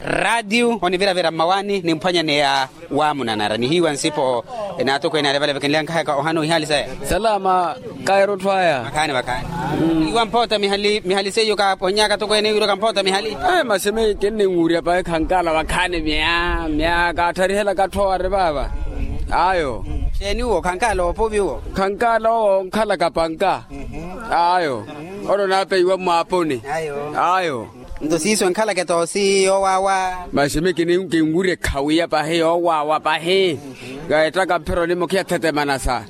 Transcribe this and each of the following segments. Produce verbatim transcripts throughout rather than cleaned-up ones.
Raatiyo oniviravira mmawaani nimphwanyaneya. Waamunanara nihiiwa nsipo. Naatokweene ale vale vakinlyankahaka ohana ohihaali saya. Salama. Kairo tthwaya. Vakhaani vakhaani. Iwa mphoota mihali mihali seiyo kaaponyaka tokweene wiro kamphoota mihali. Masi mi kinninwurya pahi khankala vakhaani mya mya kaattharihela katthowari vaava. Ayo. Xeeni uwo khankala oopovi uwo? Khankala owo onkhalaka panka. Ayo. Olo naapeiwa mmaaponi. Ayo. Nto siiso enkhalaka etoosi yoowaawa. Masi mi kinwurya ekhawiya pahi yoowaawa pahi. Kaettaka mphironi mukhiya thetemanasa.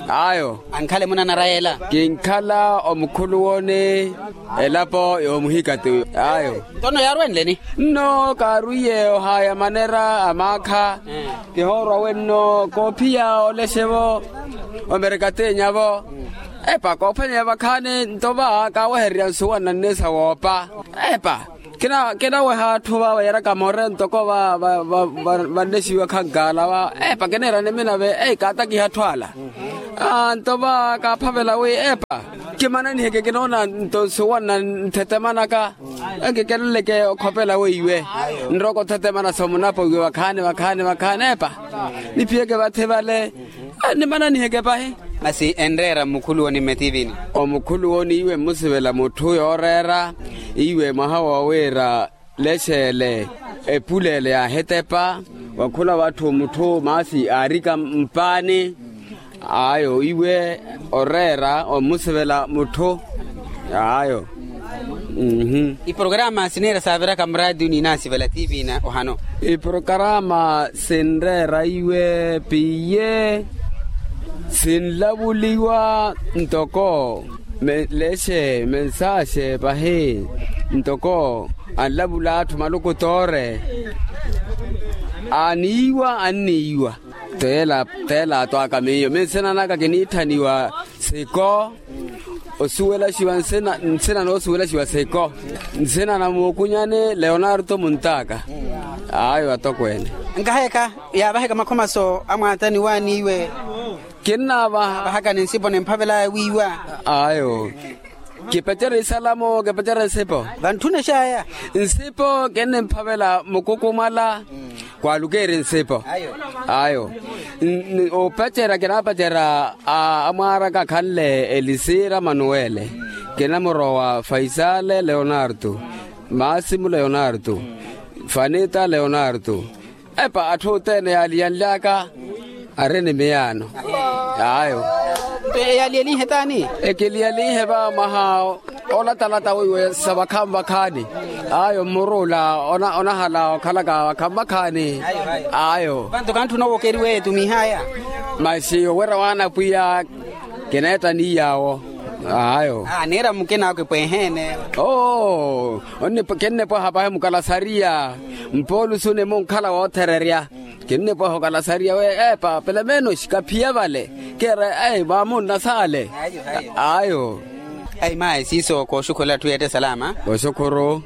Ayo. Ankhale munanara yeela. Kinkhala omukhuluwoni elapo yoomuhikati. Ayo. Nto nno yaarwenleni? Nno kaarwiye ohaaya manera amaakha. Kihoorwa wenno koophiya olexevo omerekateenyavo. Epa koophwanya vakhaani nto va kaawehererya nsuwa nnanne sawoopa. Epa kinaweha atthu va vayaraka more ntoko va vanlexiwa khankaala va. Epa kineera niminave ei kaatakiha atthu ala. Nto va kaaphavela wi epa kimananiheke kinoona nto nsuwa nna nthetemanaka. Enkikeleleke okhopela weiwe nrooko thetemanasa omunapo iwe vakhaani vakhaani vakhaani epa. Niphiyeke vathi vale. Nimananiheke pahi. Masi enreera mmukhuluwoni mmetivini? Omukhuluwoni iwe mmusivela mutthu yooreera iwe mwaha woowiira lexeele epule ele yaahetepa wakhula watthu mutthu maasi aarika mpaani. Ayo iwe oreera ommusivela mutthu. Ayo. Iporokaraama sineera saaviraka muraatiyo n'inaasivela tiivina ohano. Iporokaraama sinreera iwe piiye sinlavuliwa ntoko lexe mensaaxe pahi ntoko anlavula atthu maluku toore. Aaniiwa anniiwa. Teela teela atwaaka miyo mi nsina naka kiniitthaniwa siko osuwelaxiwa nsina noosuwelaxiwa siko nsina na muukunyani leonarto muntaaka. Ayo atokweene. Nkaheka yaavaheka makhomaso amwaatani waaniiwe. Kinnaavahaka ni nsipo nimphavelaya wiiwa. Ayo. Kipacerya isalamo kipacerya nsipo. Vantthuna exaya nsipo kinnimphavela mukukumwala. Kwaalukeeri nsipo. Ayo. Opacerya kinaapacerya amwaaraka khanle elisira manuwele. Kinamurowa faisale leonarto, maasimu leonarto, fanita leonarto. Epa atthu othene yaaliyanly'aka ari ni miyaano. Ayo. Eyaliyalinhe taani? Ekiliyalinhe va mwaha olatalata wiiwe sa vakhaani vakhaani. Ayo mmuru ola onahala okhalaka vakhaani vakhaani. Ayo. Vantu kantthuna owokeriwa eetumihaya. Masi owerya waana pwiya kineetta ni yaawo. Ayo. Aneera mukina akipweheene. Oo. Kinnipwaha pahi mukalasariya. Mpoolusu ni munkhala woothererya. Kinnipwaha okalasariya we epa pelemenoxi kaphiya vale. Keera ei vaamunna saale. Ayo. Ai mayi siiso kooxukhurela atthu yeetta salama. Oxukhuru.